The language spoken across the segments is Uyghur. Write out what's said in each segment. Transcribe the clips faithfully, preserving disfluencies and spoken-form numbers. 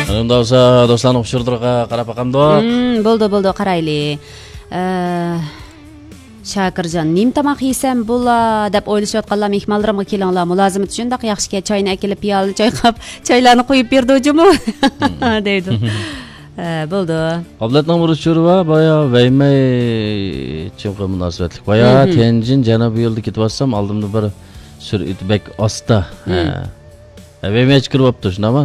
ئۇنداق بولسا، دوستلارنىڭ ئۇچۇرلىرىغا قاراپ باقامدۇق؟ مم، بولدى، بولدى، قارايلى. ئە، شاكىرجان، نېمە تاماق يېسەم بولا دەپ ئويلىشىۋاتقانلار مېھمانلىرىمغا كېلىڭلار، مۇلازىمىتى شۇنداق ياخشىكەن، چاينى ئەكېلىپ، پىيالىنى چايقاپ، چايلارنى قۇيۇپ بېرىدۇ جۇمۇ، دەيدۇ. ئە، بولدى. ئابلەتنىڭ بىر ئۇچۇرى بار، بايا ۋەيمەي چىڭخې مۇناسىۋەتلىك. بايا تيەنجىن جەنۇبىي يولدا كېتىۋاتسام، ئالدىمدا بىر سۈرئىتى بەك ئاستا. ھە. ھە، ۋەيمەيچە كىرىۋاپتۇ، شۇنداقمۇ؟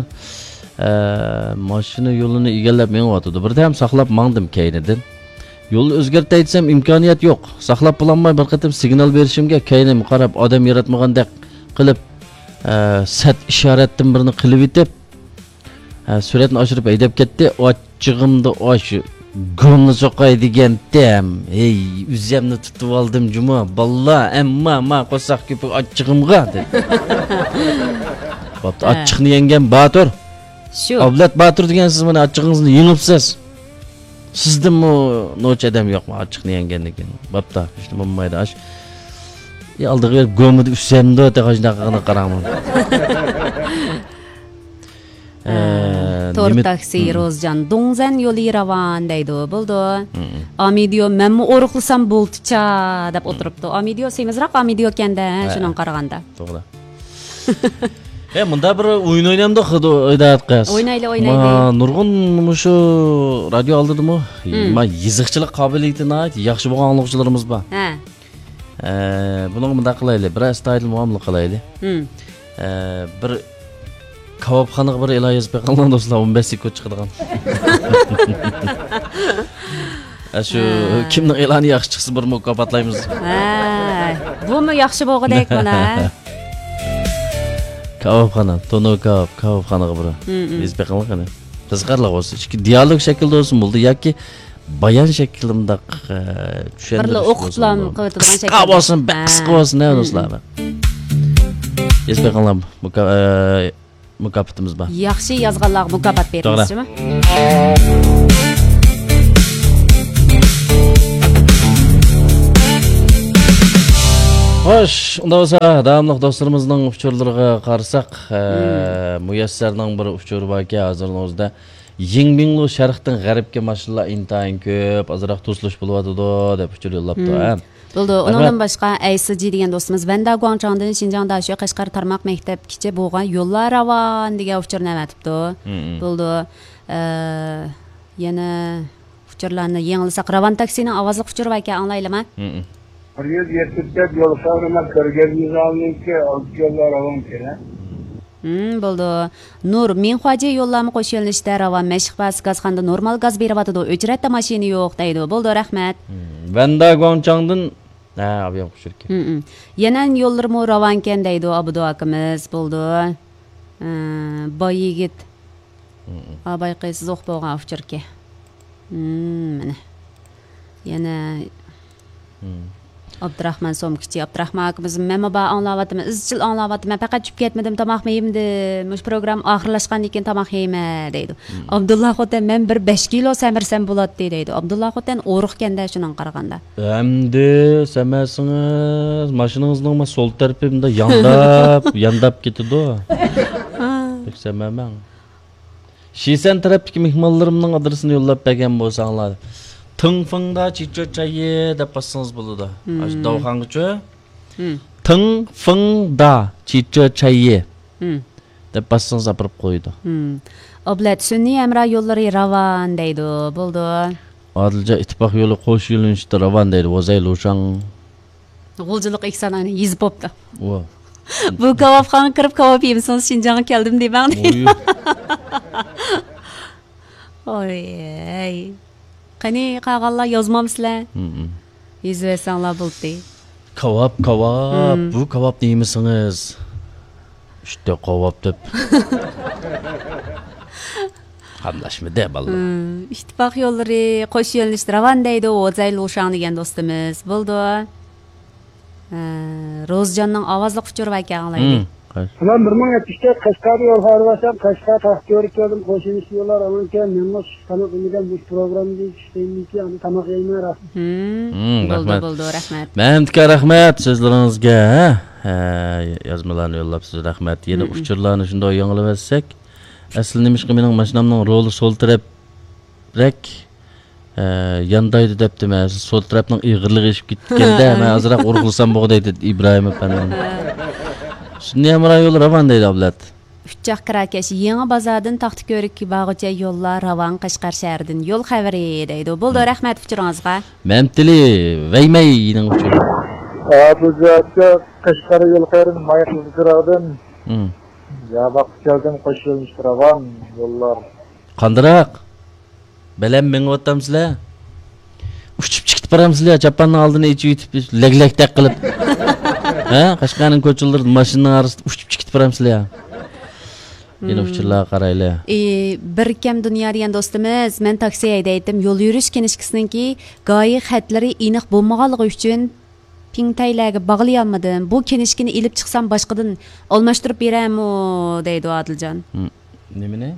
ھە، ماشىنا يولىنى ئىگىلەپ مېڭىۋاتىدۇ. بىردەم ساقلاپ ماڭدىم كەينىدىن. يولنى ئۆزگەرتەي دېسەم، ئىمكانىيەت يوق. ساقلاپ بولالماي بىر قېتىم سىگنال بېرىشىمگە كەينىمگە قاراپ ئادەم ياراتمىغاندەك قىلىپ، ھە، سەت ئىشارەتتىن بىرنى قىلىۋېتىپ، ھە، سۈرئەتنى ئاشۇرۇپ ھەيدەپ كەتتى. ئاچچىقىمدا ئاشۇ گۇمنى سوقاي دېگەنتىم. ھەي، ئۆزۈمنى تۇتۇۋالدىم جۇمۇ. باللا، ئەمما ما قورساق كۆپۈك ئاچچىقىمغا، دېدى. بوپتۇ، ھە. ئاچچىقنى يەڭگەن باتۇر. شۇ. ئابلەت باتۇر دېگەن سىز مانا ئاچچىقىڭىزنى يېڭىپسىز. سىزدىنمۇ نوچى ئادەم يوقمۇ ئاچچىقنى يەڭگەندىن كېيىن؟ بوپتۇ، ھېچنېمە بولمايدۇ. ئاش. ئى، ئالدىغا بېرىپ گۇمىدا ئۈسسەمدۇ، تېخى شۇنداق قىلغىنىغا قاراڭ. ئە، تور نېمە تاكسى، روزجان، دۇڭزەن يولى راۋان دەيدۇ. بولدى. ئامىدىيو، مەنمۇ ئورۇقلىسام بولدىچا دەپ ئولتۇرۇپتۇ. ئامىدىيو سېمىزراق ئامىدىيو ئىكەن-دە، شۇنىڭغا قارىغاندا. توغرا. ئە، مۇنداق بىر ئويۇن ئوينامدۇق، ھىدايەت قىز. ئوينايلى، ئوينايلى. ما، نۇرغۇن مۇشۇ رادىيو ئالدىدىمۇ، ما، يېزىقچىلىق قابىلىيىتى ناھايىتى ياخشى بولغان ئاڭلىغۇچىلىرىمىز بار. ھە. ئە، بۇنىڭغا مۇنداق قىلايلى، بىر ئەستايىدىل مۇئامىلە قىلايلى. ئە، بىر كاۋاپخانىغا بىر ئېلان يېزىپ بېقىڭلار دوستلار، ئون بەش سېكۇنت چىقىدىغان. ئە، شۇ كىمنىڭ ئېلانى ياخشى چىقسا، بىر مۇكاپاتلايمىز. ھە، بۇمۇ ياخشى بولغۇدەك مانا. كاۋاپخانا، تونۇر كاۋاپ، كاۋاپخانىغا بىر يېزىپ بېقىڭلار قېنى. قىزىقارلىق بولسا، ئىچكى دىيالوگ شەكلىدە بولسا بولدى ياكى بايان شەكلىدە مۇنداق، ئە، چۈشەندۈرۈش بىرلا ئوقۇپلا بولسا، قىلىۋېتىدىغان شەكىلدە. قىسقا بولسۇن، بەك قىسقا بولسۇن، ھە، دوستلار. يېزىپ بېقىڭلار، مۇكا-، ئە، مۇكاپاتىمىز بار. ياخشى يازغانلارغا مۇكاپات بېرىمىز، توغرا. شۇمۇ؟ خوش، ئۇنداق بولسا، داۋاملىق دوستلىرىمىزنىڭ ئۇچۇرلىرىغا قارىساق، ئە، مۇيەسسەرنىڭ بىر ئۇچۇرى باركەن، ھازىرنىڭ ئۆزىدە. يىڭبىڭلۇ شەرقتىن غەربكە ماشىنىلار ئىنتايىن كۆپ، ئازراق توسۇلۇش بولۇۋاتىدۇ، دەپ ئۇچۇر يوللاپتۇ، ھە. بولدى. ئۇنىڭدىن باشقا، ئەيسىجى دېگەن دوستىمىز، ۋەندا گۇاڭچاڭدىن شىنجاڭ داشۆ قەشقەر تارماق مەكتەپكىچە بولغان يوللار راۋان دېگەن ئۇچۇرنى ئەۋەتىپتۇ. بولدى. ئە، يەنە ئۇچۇرلارنى يېڭىلىساق، راۋان تاكسىنىڭ ئاۋازلىق ئۇچۇرى باركەن، ئاڭلايلىما؟ بىر يۈز يەتمىش تۆت يول خەۋىرىمە كۆرگەزمىگە ئالدىنكى ئالتە يوللار راۋان كېلە. ھىم، بولدى. نۇر، مىڭخۇاجيې يوللارمۇ قوش يۆنىلىشتە راۋان، مەشىق بازىسى گازخانىدا نورمال گاز بېرىۋاتىدۇ، ئۆچرەتتە ماشىنا يوق دەيدۇ. بولدى، رەھمەت. ھىم، ۋەندا گۇاڭچاڭدىن، ھە، ئابىيام قوشۇركى. ھىم، ھىم. يەنەن يوللىرىمۇ راۋانكەن دەيدۇ، ئابدۇ ئاكىمىز. بولدى. ھە، باي يىگىت. ھىم، ھىم. ئاباي قىز زوق بولغان ئۇچۇركى. ھىم، مانا. يەنە ئابدۇراخمان سومكىچى، ئابدۇراخمان ئاكىمىز، مەنمۇ بار ئاڭلاۋاتىمەن، ئىزچىل ئاڭلاۋاتىمەن، پەقەت چۈشۈپ كەتمىدىم، تاماقمۇ يېمىدىم، مۇشۇ پروگرامما ئاخىرلاشقاندىن كېيىن تاماق يەيمەن دەيدۇ. ئابدۇللا خوتەن، مەن بىر بەش كىلو سەمرىسەم بولاتتى دەيدۇ. ئابدۇللا خوتەن ئورۇقكەندە شۇنىڭغا قارىغاندا. ئەمدى سەمەسىڭىز، ماشىنىڭىزنىڭ ما سول تەرىپى مۇنداق يانداپ، يانداپ كېتىدۇ. بەك سەمەمەڭ. شىسەن تەرەپتىكى مېھمانلىرىمنىڭ ئادرېسىنى يوللاپ بەرگەن بولساڭلار. تىڭفېڭدا چىچۆ چايى دەپ باسسىڭىز بولىدۇ. ئاشۇ داۋخانغىچۇ؟ تىڭفېڭدا چىچۆ چايى دەپ باسسىڭىز ئاپىرىپ قويىدۇ. ئابلەت، سۈنئىي ھەمراھ يوللىرى راۋان دەيدۇ. بولدى. ئادىلجان، ئىتتىپاق يولى قوش يۆنىلىشتە راۋان دەيدۇ. ۋوزەي لۇشاڭ. غۇلجىلىق ئېھسان ئاينى يېزىپ بوپتۇ. ۋا. بۇ كاۋاپخانىغا كىرىپ كاۋاپ يېمىسىڭىز شىنجاڭغا كەلدىم دېمەڭ دەيدۇ. ئوي. قېنى قالغانلار يازمامسىلەر؟ يېزىۋەرسەڭلار بولدى. كاۋاپ، كاۋاپ. بۇ كاۋاپنى يېمىسىڭىز، ئۈچتە قاۋاپ دەپ. قاملاشمىدى بالىلار. ئىتتىپاق يوللىرى قوش يۆنىلىشتە راۋان دەيدۇ، ۋوزەي لۇشاڭ دېگەن دوستىمىز. بولدى. ھە، روزجاننىڭ ئاۋازلىق ئۇچۇرى باركەن، ئاڭلايلى. سالام، بىر مىڭ يەتمىش تۆت، قەشقەردە يول خەۋىرى بارسام، قەشقەر تاختىيورغا كەلدىم، قوشۇلۇش يوللار ئاڭلىنىكەن، مېنىڭمۇ سۈت تاماق يېمىگەن، مۇشۇ پروگراممىدىن چۈشتىن كېيىن ئاندىن تاماق يەيمەن، رەھمەت. بولدى، رەھمەت. بولدى، رەھمەت. مەمتىكا، رەھمەت سۆزلىرىڭىزگە، ھە، يازمىلارنى يوللاپسىز، رەھمەت. يەنە ئۇچۇرلارنى شۇنداق يېڭىلىۋەتسەك. ئەسلى نېمىشقا مېنىڭ ماشىنامنىڭ رولى سول تەرەپرەك، ئە، ياندايدۇ دەپتىمەن. سول تەرەپنىڭ ئېغىرلىقى ئېشىپ كېتىپتىكەندە، مەن ئازراق ئۇرغۇزسام بولغۇدەك دېدى ئىبراھىم ئەپەندىم. سۈنئىي ھەمراھ يولى راۋان دەيدۇ ئابلەت. ئۈچ چاق كىراكەش، يېڭى بازاردىن تاختىكۆرۈككە بارغۇچە يوللار راۋان، قەشقەر شەھىرىدىن يول خەۋىرى دەيدۇ. بولدى، رەھمەت ئۇچۇرىڭىزغا. مەمتىلى ۋەيمەينىڭ ئۇچۇرى. ئابۇزى ئاكا، قەشقەر يول خەۋىرىدىن مايقىلدى چىراغدىن. ياۋاققا كەلدىم، قوش يۆنىلىشتە راۋان يوللار. قاندىراق؟ بەلەن مېڭىۋاتامسىلەر؟ ئۇچۇپ چىقىپ بارامسىلەر؟ چاپاننىڭ ئالدىنى ئېچىۋېتىپ، لەگلەكتەك قىلىپ. ھە؟ قەشقەرنىڭ كوچىلىرىدا ماشىنىنىڭ ئارىسىدا ئۇچۇپ چىقىپ بارامسىلەر؟ يەنە ئۇچۇرلارغا قارايلى. ئى، بىركەم دۇنيا دېگەن دوستىمىز، مەن تاكسى ھەيدەيتتىم. يول يۈرۈش كىنىشكىسىنىڭكى گاھى خەتلىرى ئېنىق بولمىغانلىقى ئۈچۈن پىڭتەيلەرگە باغلىيالمىدىم. بۇ كىنىشكىنى ئېلىپ چىقسام باشقىدىن ئالماشتۇرۇپ بېرەمۇ؟ دەيدۇ ئادىلجان. ھىم، نېمىنى؟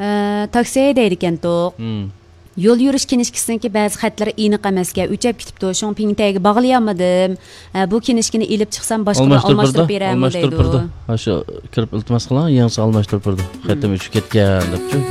ئە، تاكسى ھەيدەيدىكەنتۇق. ھىم. يول يۈرۈش كىنىشكىسىنىڭكى بەزى خەتلىرى ئېنىق ئەمەسكەن، ئۆچەپ كېتىپتۇ. شۇڭا پىڭتەيگە باغلىيالمىدىم. ئە، بۇ كىنىشكىنى ئېلىپ چىقسام باشقىدىن ئالماشتۇرۇپ بېرەمۇ؟ ئالماشتۇرۇپ بېرىدۇ. ھە، شۇ كىرىپ ئىلتىماس قىلىڭ، يېڭىسى ئالماشتۇرۇپ بېرىدۇ. خېتىم ئۆچۈپ كەتكەن دەپچۇ.